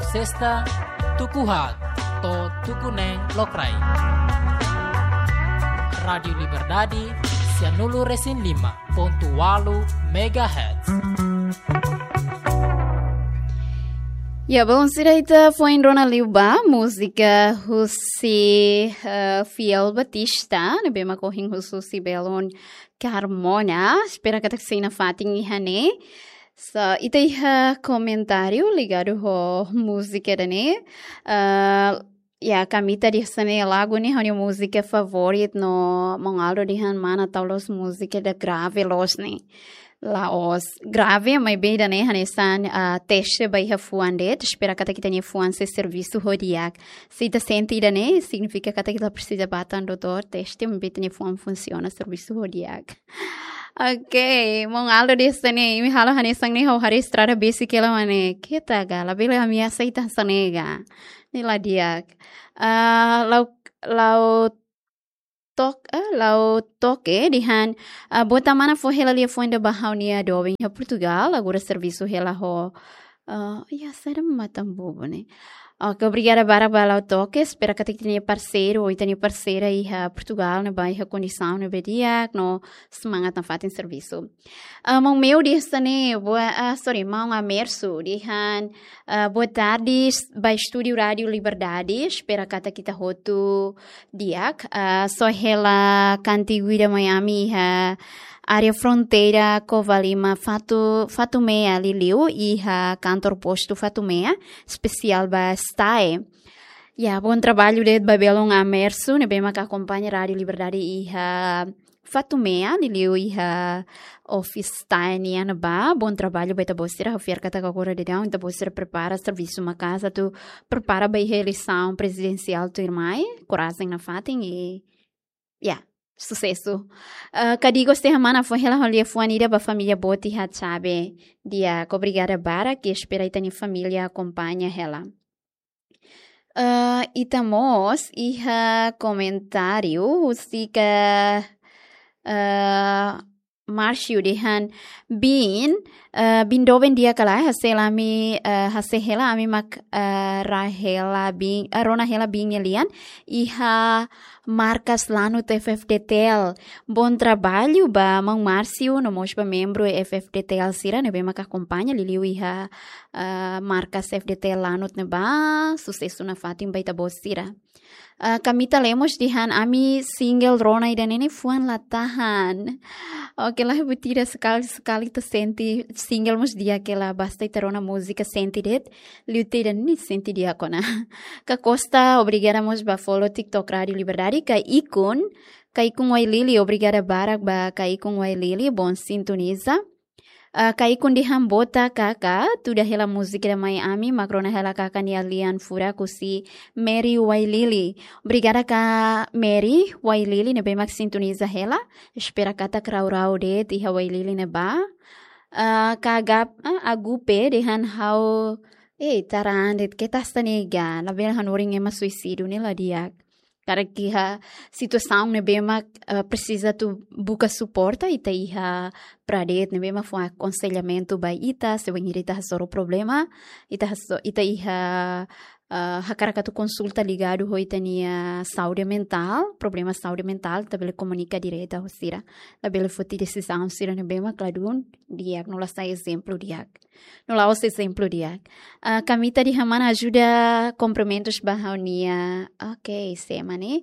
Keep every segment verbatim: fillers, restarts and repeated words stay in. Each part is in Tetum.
Sesta, tuku haat to'o tuku neen lokraik. Rádiu Liberdade, sianulu-resin-lima pontu ualu megahertz. Ya, bom, sira, ita foin rona liu ba múzika husi, eh, Fiel Batista, ne'ebé mak ohin husu husi belun Carmona, espera katak sei nafatin iha ne'e. So, ita iha komentáriu ligadu ho múzika ida-ne'e. Ah, ya, Kamita dehan hanesan ne'e, lagu ne'e ha'u-nia múzika favorit, no maun Aldo dehan mana tau loos múzika ida grave loos ne'e. La'ós grave, maibé ida-ne'e hanesan, ah, teste ba iha fuan de'it, espera katak ita-nia fuan sei servisu ho di'ak. Se ita sente ida-ne'e, signifika katak ita presiza bá tan doutór, teste, maibé ita-nia fuan funsiona, servisu ho di'ak. Ok, maun Aldo dehan hanesan ne'e, imi halo hanesan ne'e, ha'u haree estrada besik hela mak ne'e. Keta ga, labele ami aseita hanesan ne'e ga. Ne'e la di'ak. Ah, Lau, Lau Tok, eh, Lau Toke dehan, ah, bota mana fó hela liafuan ida ba ha'u-nia doben iha Portugal, agora servisu hela ho, ah, ya, saida matan bobo ne'e. Ok, obrigada barak ba Lau Toke, espera katak ita-nia parseiru, ou ita-nia parseira iha Portugal, ne'ebá iha kondisaun ne'ebé di'ak, no semangat nafatin servisu. Ah, maun Meu dehan hanesan ne'e, boa, ah, sorry, maun Amersu dehan, ah, boa tarde, s-, ba estúdiu Rádiu Liberdade, espera katak ita hotu di'ak, ah, só hela kantigu ida mai ami iha área fronteira Covalima Fatu, Fatumea liuliu iha kantor postu Fatumea, espesiál ba STAE. Ya, bom trabalho de'it ba belun Amersu, ne'ebé mak akompaña Rádiu Liberdade iha Fatumea, liuliu iha office STAE nian ne'ebá. Bom trabalho ba ita-boot sira, ha'u fiar katak agora daudaun ita-boot sira prepara servisu maka'as atu prepara ba iha eleisaun prezidensiál tuirmai, korajen nafatin i, ya, susesu. Eh, Kadigo dehan mana fó hela ho liafuan ida ba família boot iha Xabe. Di'ak, obrigada barak, i espera ita-nia família akompaña hela. Eh, ita mós iha komentáriu husik, eh, Márcio dehan, biin, eh, biin doben di'ak ka lae, hase'e hela ami, eh, hase'e hela ami mak, eh, rona hela biin, eh, rona hela biin nia lian iha markas Lanut F-FDTL. Bom trabalho ba maun Márcio, no mós ba membru F-FDTL sira ne'ebé mak akompaña liuliu iha, eh, markas F-FDTL Lanut ne'ebá, susesu nafatin ba ita-boot sira. Ah, Kamita Lemos dehan ami single rona ida-ne'e ne'e fuan la tahan. Oke, la buat ida, sekali-sekali ita sente single mós di'ak hela, basta ita rona múzika sente de'it, liu ida-ne'e sente di'ak ona. Ka Costa, obrigada mós ba follow TikTok Rádiu Liberdade, Kaikun, Kaikun Wailili, obrigada barak ba Kaikun Wailili, bom sintoniza. Ah, Kaikun dehan bota kaka, tuda hela múzika ida mai ami, mak rona hela kaka nia lian furak husi Mary Wailili. Obrigada ka Mary Wailili, ne'ebé mak sintoniza hela. Espera katak rau-rau de'it iha Wailili ne'ebá. Ah, ka Agap-, ah, Agupe dehan ha'u, eh, taran de'it, keta hanesan ne'e ga, labele hanorin ema suisídiu ne'e la di'ak. Karik iha situasaun ne'ebé mak, eh, presiza atu buka suporta, ita iha Pradet ne'ebé mak fó akonselhamentu ba ita, se bainhira ita hasoru problema, ita haso-, ita iha, eh, hakarak atu konsulta ligadu ho ita-nia saúde mentál, problema saúde mentál, ita bele komunika direta ho sira. Labele foti desizaun sira ne'ebé mak ladún di'ak, no la sai ezemplu di'ak. No la'ós ezemplu di'ak. Ah, Kamita dehan mana ajuda kumprimentus ba ha'u-nia. Oke, sema ne'e.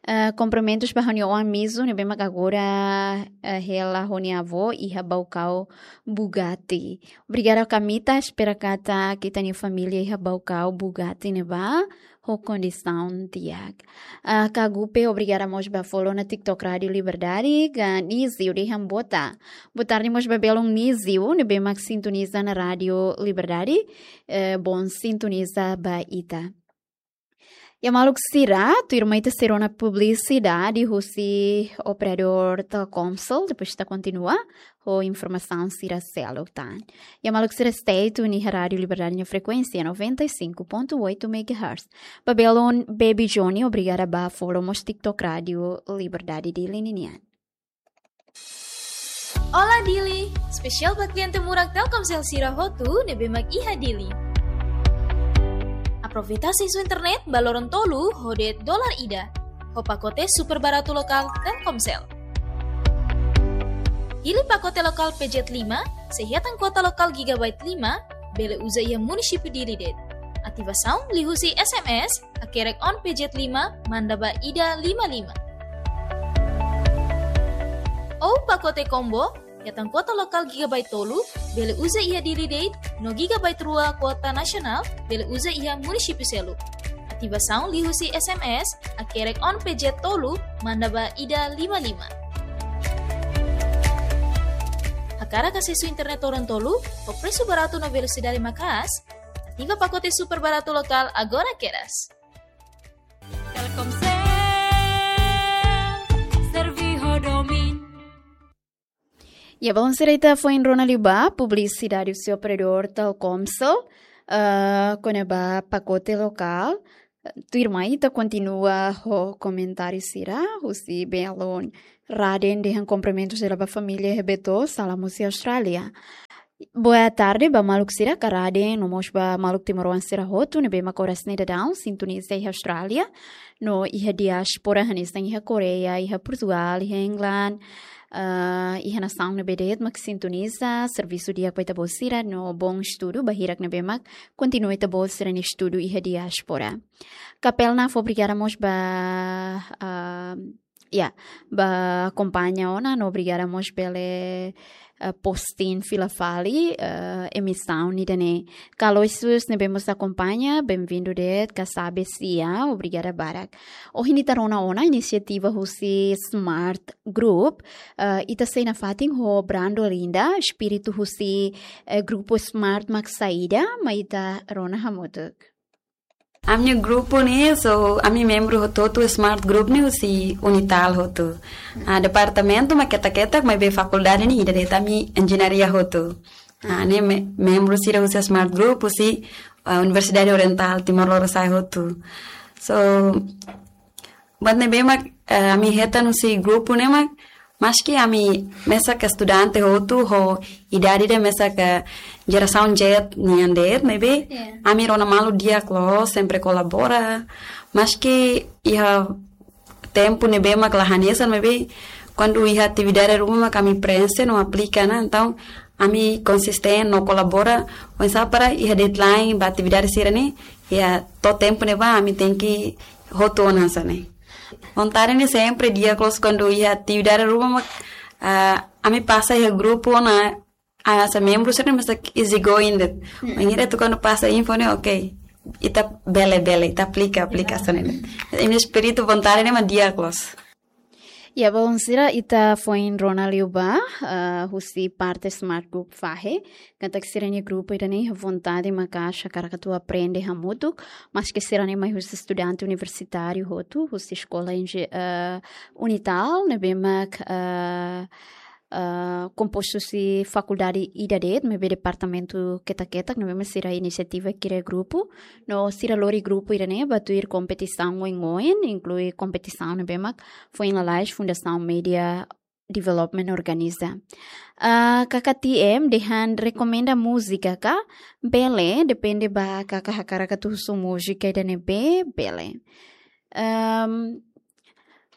Ah, kumprimentus ba ha'u-nia oan Mizu, ne'ebé mak agora, ah, hela ho nia avó iha Baucau Bugatti. Obrigada Kamita, espera katak ita-nia família iha Baucau Bugatti ne'ebá ho kondisaun di'ak. Ah, Kagupe, obrigada mós ba follow ona TikTok Rádiu Liberdade, ka Nizio dehan bota. Boa tarde mós ba belun Nizio, ne'ebé mak sintoniza ona Rádiu Liberdade, eh, bom sintoniza ba ita. Ya maluk sira, tuirmai ita sei rona publisidade husi operadór Telkomsel, depois ita kontinua ho informasaun sira seluk tan. Ya maluk sira, stay tune iha Rádiu Liberdade nia frekuénsia noventa e cinco ponto oito megahertz. Ba belun Baby Johnny, obrigada ba follow mós TikTok Rádiu Liberdade Dili ninian. Olá Dili, espesiál ba kliente murak Telkomsel sira hotu ne'ebé mak iha Dili. Aproveita asesu internet ba loron tolu ho de'it dolar ida, ho pakote super baratu lokál Telkomsel. Hili pakote lokál P Z lima, se hetan kuota lokál gigabyte lima, bele uza iha munisípiu Dili de'it. Ativasaun liuhusi S M S, hakerek on P Z lima, manda ba ida lima lima. Ou pakote combo, hetan kuota lokál gigabyte tolu, bele uza iha Dili de'it, no gigabyte rua kuota nasionál, bele uza iha munisípiu seluk. Ativasaun liuhusi S M S, hakerek on P Z tolu, manda ba ida lima lima. Hakarak asesu internet loron tolu, ho presu baratu no velosidade maka'as, ativa pakote super baratu lokál agora kedas. Telkomsel, serve ho domin. Ya, bom, sira, ita foin rona liu ba publisidade husi operadór Telkomsel, eh, kona-ba pakote lokál. Tuirmai ita kontinua ho komentáriu sira husi belun Raden dehan kumprimentus dela ba família iha Beto, salam husi Austrália. Boa tarde ba maluk sira, ka Raden, no mós ba maluk timoroan sira hotu ne'ebé mak oras ne'e daudaun sintoniza iha Austrália, no iha diáspora hanesan iha Koreia, iha Portugal, iha England, ah, iha nasaun ne'ebé de'it mak sintoniza, servisu di'ak ba ita-boot sira, no bom estudu ba hirak ne'ebé mak kontinua ita-boot sira-nia estudu iha diáspora. Kapel Naf, obrigada mós ba, ah, ya, ba akompaña ona, no obrigada mós bele, eh, posting fila fali, eh, emisaun ida-ne'e. Ka Aloysius ne'ebé mós akompaña, benvindu de'it, ka Sabe Sia, obrigada barak. Ohin ita rona ona inisiativa husi Smart Group, eh, ita sei nafatin ho Brando Linda, espíritu husi, eh, grupu Smart mak saida, mai ita rona hamutuk. Ami-nia grupu ne'e, so, ami membru hotu-hotu Smart Group ne'e husi Unital hotu. Ah, departamentu mak ketak-ketak, maibé fakuldade ne'e ida de'it, ami enjeñaria hotu. Ah, ne'e me-, membru sira husi Smart Group, husi, ah, Universidade Oriental Timor Lorosa'e hotu. So, buat ne'ebé mak, eh, ami hetan husi grupu ne'e mak, maski ami mesak estudante hotu ho idade ida mesak jerasaun Z nian de'it, maibé, ya, ami rona malu di'ak loos, sempre kolabora. Maski iha tempu ne'ebé mak la hanesan, maibé kuandu iha atividade ruma mak ami prenxe no aplika ona, entaun ami konsistente no kolabora, oinsá para iha deadline ba atividade sira-ne'e, iha to'o tempu ne'ebá ami tenke hotu ona hanesan ne'e. Vontade ne'e sempre di'ak loos kuandu iha atividade ruma mak, ah, ami pasa iha grupu ona, ah, hanesan membru sira-ne'e mesak easy going de'it. Mm-mm. Maibé ita kuandu pasa info ne'e, oke, ita bele, bele, ita aplika, aplika, ya, hanesan ne'e. Imi-nia espíritu vontade ne'e mak di'ak loos. Ya, belun sira, ita foin rona liu ba, eh, husi parte Smart Group fahe, katak sira-nia grupu ida-ne'e vontade maka'as hakarak atu aprende hamutuk, maski sira-ne'e mai husi estudante universitáriu hotu, husi eskola enje-, eh, Unital, ne'ebé mak, eh, eh, kompostu husi fakuldade ida de'it, maibé departamentu ketak-ketak, ne'ebé mak sira inisiativa kria grupu, no sira lori grupu ida-ne'e ba tuir kompetisaun oin-oin, inklui kompetisaun ne'ebé mak foin lalais Fundasaun Media Development organiza. Ah, Kaka T M dehan rekomenda múzika ka? Bele, depende ba Kaka hakarak atu husu múzika ida ne'ebé, bele. Ehm,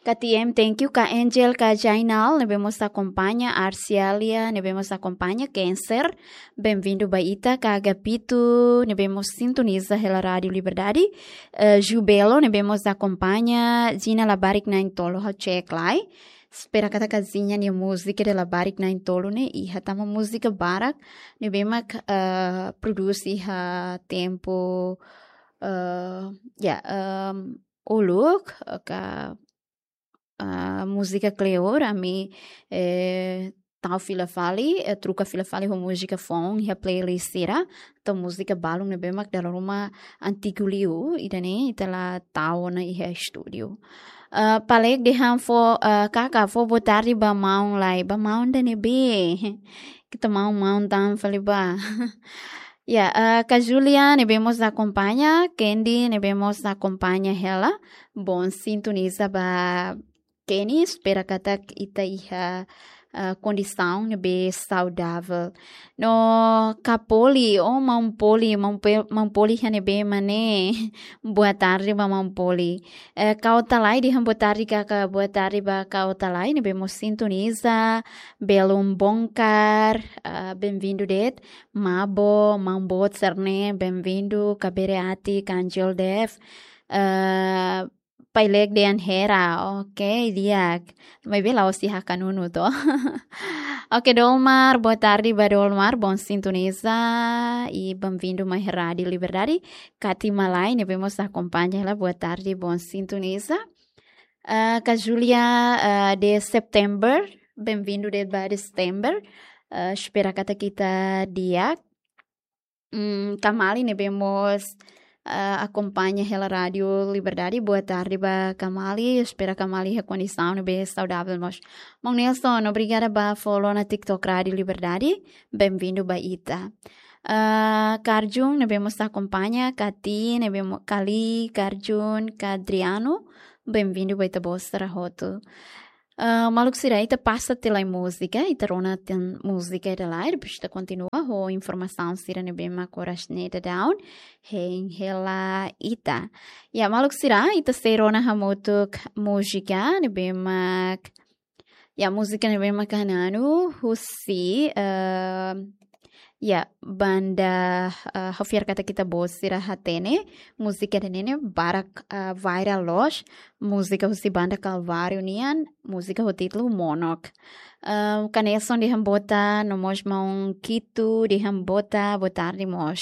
K T M, thank you. Ka Angel, ka Jainal, ne'ebé mós akompaña, Arcialia, ne'ebé mós akompaña, Cancer, benvindu ba ita, ka Agapito, ne'ebé mós sintoniza hela Rádiu Liberdade, eh, Jubelo, ne'ebé mós akompaña, Gina Labarik Na'in-Tolu, ha'u cek lai. Espera katak Gina nia múzika de Labarik Na'in-Tolu ne'e iha, tanba múzika barak ne'ebé mak, eh, prodús iha tempu, eh, ya, ehm, uluk, eh, ka, eh, múzika kleur, ami, eh, tau fila fali, eh, troka fila fali ho múzika foun iha playlist sira, entaun múzika balun ne'ebé mak dala ruma antigu liu, ida-ne'e ita la tau ona iha estúdiu. Eh, Palek dehan fó, eh, Kaka fó boa tarde ba maun lai, ba maun ida ne'ebé. Ita maun-maun tan fali ba. Ya, eh, ka Julia ne'ebé mós akompaña, Candy ne'ebé mós akompaña hela. Bom, sintoniza ba Kenny, espera katak ita iha, ah, kondisaun ne'ebé saudavel. No Kapoli, oh, Maun Poli, Maun Pe-, Maun Poli iha ne'ebé mak ne'e? Boa tarde ba Maun Poli. Eh, Kau Talai dehan boa tarde, kaka, boa tarde ba Kau Talai ne'ebé mós sintoniza, belum bongkar, ah, bem-vindo de'it. Mabo, Maun Boot sira-ne'e, bem-vindo, Kabere Ati, Kanjel Dev, eh, Pailek Dean Hera, ok, di'ak. Maibé la'ós iha Kanunu to. Ok, Dolmar, boa tarde ba Dolmar, bom sintoniza, i bem-vindo mai Rádio Liberdade. Kati Malai, ne'ebé mós akompaña hela, boa tarde, bom sintoniza. Ah, Kak Julia, ah, de September, bem-vindo de ba de September. Ah, espera katak ita di'ak. Hmm, Kamali ne'ebé mós, ah, akompaña hela Rádio Liberdade. Boa tarde ba Kamali. Espera Kamali iha kondisaun ne'ebé saudavel mós. Maun Nelson, obrigada ba follow ona TikTok Rádio Liberdade. Bem-vindo ba ita. Ah, Karjun ne'ebé mós akompaña, Kati ne'ebé mo-, Kali, Karjun, Kadriano. Bem-vindo ba ita-boot sira hotu. Ah, maluk sira, ita pasa tiha lai múzika, ita rona tiha múzika ida lai, depois ita kontinua ho informasaun sira ne'ebé mak oras ne'e daudaun hein hela ita. Ya, maluk sira, ita sei rona hamutuk múzika ne'ebé mak, ya, múzika ne'ebé mak hananu husi, eh, ya, banda, eh, ha'u fiar katak ita-boot sira hatene, múzika ida-ne'e barak, eh, viral loos, múzika husi banda Kalváriu nian, múzika ho títulu Monok. Eh, Kak Nelson dehan boa tarde, no mós Maun Kitu dehan boa tarde, boa tarde mós.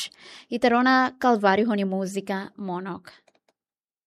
Ita rona Kalváriu ho nia múzika Monok.